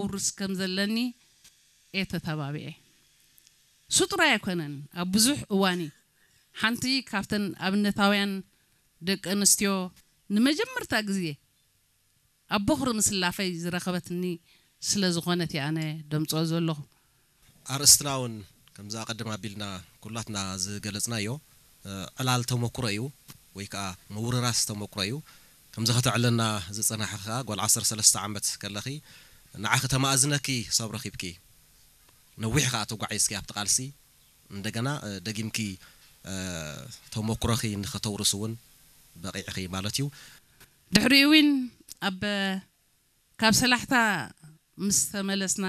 ክውርስ ከም ዘለኒ እየ ተተባቢዐ። እሱ ጥራይ ኣይኮነን፣ ኣብ ብዙሕ እዋን እዩ። ሓንቲ ካብተን ኣብነታውያን ደቂ ኣንስትዮ ንመጀመርታ ግዜ ኣብ ቦኽሪ ምስላፈይ ዝረኸበትኒ ስለ ዝኾነት እየ ኣነ ደምፅኦ ዘለኹ። ኣርእስትና እውን ከምዚ ኣቐድም ኣቢልና ኩላትና ዝገለጽናዮ፣ እ፣ ዕላል ተመኩሮ እዩ ወይ ከዓ ምውርራስ ተመኩሮ እዩ። ከምዚ ከተዕለና ዝጸናሕኺ ከዓ ጓል ዓሰርተ ሰለስተ ዓመት ከለኺ ንዓኺ ተማእዝነኪ ሰብ ረኺብኪ። ነዊሕ ከዓ ተጓዒዝኪ ኣብቲ ቃልሲ። እንደገና፣ እ፣ ደጊምኪ፣ እ፣ ተመኩሮኺ ንኸተውርስ እውን በቒዕኺ ማለት እዩ። ድሕሪኡ እውን ኣብ፣ ካብ ሰላሕታ ምስ ተመለስና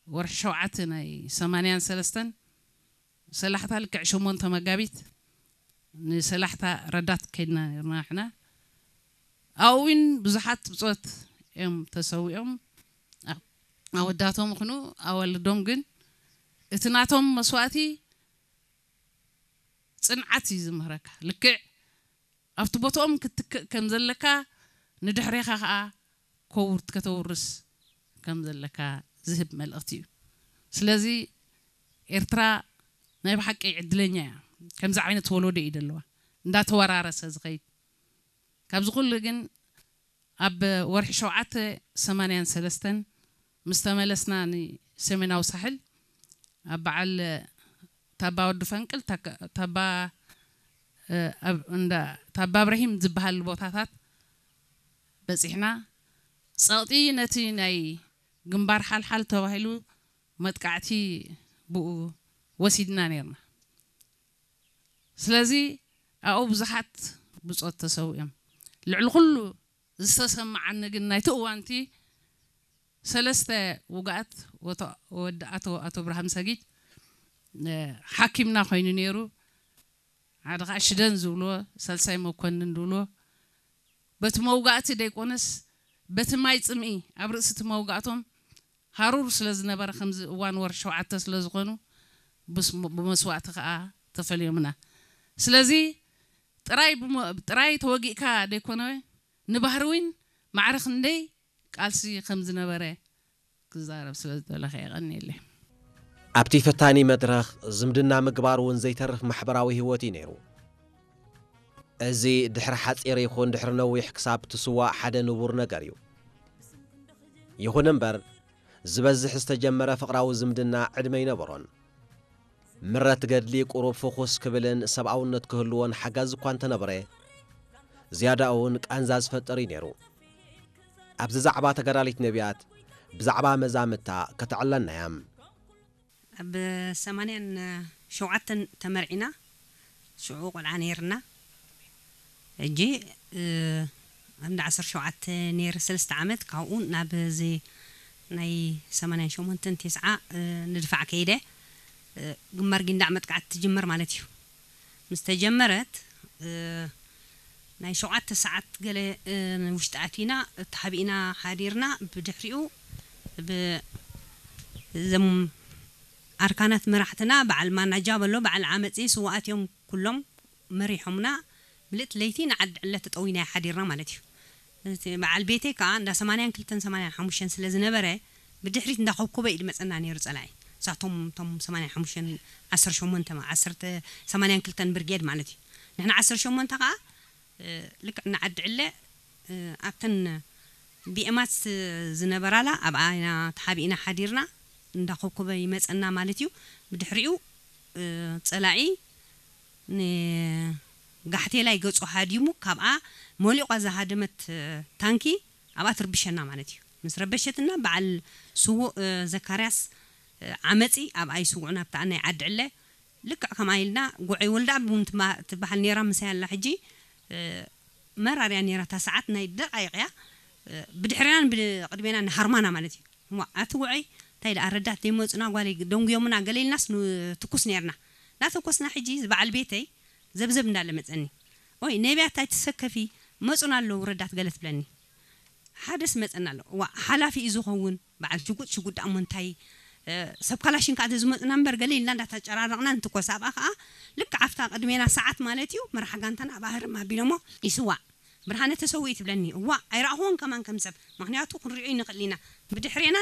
ወርሒ ሸውዓተ ናይ ሰማንያን ሰለስተን፣ ሰላሕታ ልክዕ ሸሞንተ መጋቢት ንሰላሕታ ረዳት ከይድና ነርና ንሕና። ኣብኡ እውን ብዙሓት ብጾት እዮም ተሰዊኦም። ኣ-፣ ኣወዳቶም ይኹኑ ኣዋልዶም ግን እቲ ናቶም መስዋእቲ ጽንዓት እዩ ዝምህረካ። ልክዕ ኣብቲ ቦትኦም ክትትክእ ከም ዘለካ፣ ንድሕሬኻ ኸኣ ከውርት-፣ ከተውርስ ከም ዘለካ ዝህብ መልእኽቲ እዩ። ስለዚ ኤርትራ ናይ ብሓቂ ዕድለኛ እያ። ከምዚ ዓይነት ወለዶ እዩ ደለዋ። እንዳተወራረሰ ዝኸይድ። ካብዚ ኩሉ ግን ኣብ ወርሒ ሸውዓተ ሰማንያን ሰለስተን ምስ ተመለስና ንሰሜናዊ ሳሕል ኣብ በዓል ታባ ወዲ ፈንቅል፣ ታካ-፣ ታባ፣ እ፣ ኣብ እንዳ ታባ እብራሂም ዝበሃል ቦታታት በጺሕና። ጸቕጢ ነቲ ናይ ግንባር ሓልሓል ተባሂሉ መጥቃዕቲ ብኡ ወሲድና ነርና። ስለዚ ኣብኡ ብዙሓት ብጾት ተሰዊኦም። ልዕሊ ኩሉ ዝተሰማዓኒ ግን ናይቲ እዋንቲ ሰለስተ ውግኣት ወቶ-፣ ወዲ ኣቶ፣ ኣቶ ብርሃም ሰጊድ፣ እ፣ ሓኪምና ኮይኑ ነይሩ። ሓደ ኸዓ ሽደን ዝብልዎ፣ ሳልሳይ መኮንን ዝብልዎ። በቲ መውጋእቲ ደይኮነስ፣ በቲ ማይ ጽምኢ ኣብ ርእሲ እቲ መውጋእቶም ሃሩር ስለ ዝነበረ፣ ከምዚ እዋን ወርሒ ሸውዓተ ስለ ዝኾኑ፣ ብስ-፣ ብመስዋእቲ ኸዓ ተፈልዮምና። ስለዚ ጥራይ ብመ-፣ ጥራይ ተወጊእካ ደይኮነ፣ ንባህሪ እውን ማዕረ ክንደይ ቃልሲ ከም ዝነበረ ክዛረብ ስለ ዝደለኸ የቐንየለይ። ኣብቲ ፈታኒ መድረኽ ዝምድና ምግባር እውን ዘይተርፍ ማሕበራዊ ህይወት እዩ ነይሩ። እዚ ድሕሪ ሓጺር ይኹን ድሕሪ ነዊሕ ክሳብ ትስዋእ ሓደ ንቡር ነገር እዩ። ይኹን እምበር፣ ዝበዝሕ ዝተጀመረ ፍቕራዊ ዝምድና ዕድመ ኣይነበሮን። ምረት ገድሊ ቁሩብ ፍኹስ ክብልን ሰብኣውነት ክህልዎን ሓጋዚ እኳ እንተነበረ፣ ዝያዳኡ እውን ቃንዛ ዝፈጥር እዩ ነይሩ። ኣብዚ ዛዕባ ተጋዳሊት ነቢያት ብዛዕባ መዛምታ ከተዕለና እያ። ኣብ ሰማንያን ሸውዓተን ተመርዒና፣ ሽዑ ቆልዓ ነይርና። ሕጂ፣ እ፣ ኣብ እንዳ ዓሰርተ ሸውዓተ ነይረ ሰለስተ ዓመት፣ ካብኡ ናብ እዚ ናይ ሰማንያን ሸሞንተን ተስዓ፣ እ፣ ንድፋዕ ከይደ። እ፣ ግንባር ጊንዳዕ መጥቃዕቲ ትጅመር ማለት እዩ። ምስ ተጀመረት፣ እ፣ ናይ ሸውዓተ ሰዓት ገለ፣ እ፣ ውሽጢ ኣቲና፣ ተሓቢእና ሓዲርና። ብድሕሪኡ ብ-፣ እዞም ኣርካናት መራሕትና፣ በዓል ማናጃ በሎ፣ በዓል ዓመፂ፣ ስውኣት እዮም ኩሎም መሪሖምና። ምልእቲ ለይቲ ንዓዲ ዕለ ተጠዊና ሓዲርና ማለት እዩ። እቲ በዓል ቤተይ ከዓ እንዳ ሰማንያን ክልተን ሰማንያን ሓሙሽተን ስለ ዝነበረ፣ ብድሕሪት እንዳ ኮብኮበ እዩ ዝመፀና ነይሩ ፀላኢ። እሳቶም እቶም ሰማንያን ሓሙሽተን፣ ዓሰርተ ሸሞንተ፣ ዓሰርተ፣ ሰማንያን ክልተን ብርጌድ ማለት እዩ። ንሕና ዓሰርተ ሸሞንተ ከዓ፣ እ፣ ልክዕ ንዓዲ ዕለ፣ እ፣ ኣብተን ቢኤማት ዝነበራላ ኣብኣ ኢና ተሓቢእና ሓዲርና። እንዳ ኮብኮበ ይመፀና ማለት እዩ። ብድሕሪኡ፣ እ፣ ፀላኢ ንጋሕቴላይ ገጹ ሃዲሙ፣ ካብኣ መሊቋ ዝሃደመት፣ እ፣ ታንኪ ኣብኣ ትርብሸና ማለት እዩ። ምስ ረበሸትና፣ በዓል ስዉእ፣ እ፣ ዘካርያስ፣ እ፣ ዓመጺ ኣብኣ ይስውዑ፣ ናብታ ናይ ዓዲ ዕለ። ልክዕ ከምኣ ኢልና፣ ጉዐይ ወልደኣብ እውን ትማ-፣ ትበሃል ነይራ፣ ምሳይ ኣላ ሕጂ። እ፣ መራርያ ነይራ፣ እታ ሰዓት ናይ ደቃይቕ እያ። እ፣ ብድሕሬናን ብቅድሜናን ንሃርማና ማለት እዩ። እሞ ኣቲ ጉዐይ፣ እንታይ ደኣ ረዳት ዘይመጹና፣ ጓለይ ደንጉዮምና፣ ገለ ኢልናስ ንትኩስ ነይርና። እናተኮስና፣ ሕጂ እዚ በዓል ቤተይ ዘብዘብ እንዳለ መጸኒ። ኦይ፣ ነቢያት ኣይትሰከፊ፣ መጹና ኣለዉ ረዳት፣ ገለ ትብለኒ። ሓደስ መጸና ኣሎ። ዋ፣ ሓላፊ እዩ ዝኸውን። በዓል ሽጉጥ፣ ሽጉጥ ደኣ እሞ እንታይ፣ እ፣ ሰብ ካላሽን ከኣ ተዝመጹና እምበር፣ ገለ ኢልና እንዳተጨራረቕና ንትኮስ። ኣብኣ ከኣ ልክዕ ኣብታ ቅድሜና ሰዓት ማለት እዩ፣ መራሕ ጋንታና ኣብኣ ህርም ኣቢሎሞ ይስዋእ። ብርሃነ ተሰዊኡ ትብለኒ። እዋ ኣይረኣኹዎን ከማን ከም ሰብ፣ ምኽንያቱ ክንሪኦ ይንኽእል ኢና። ብድሕሬናን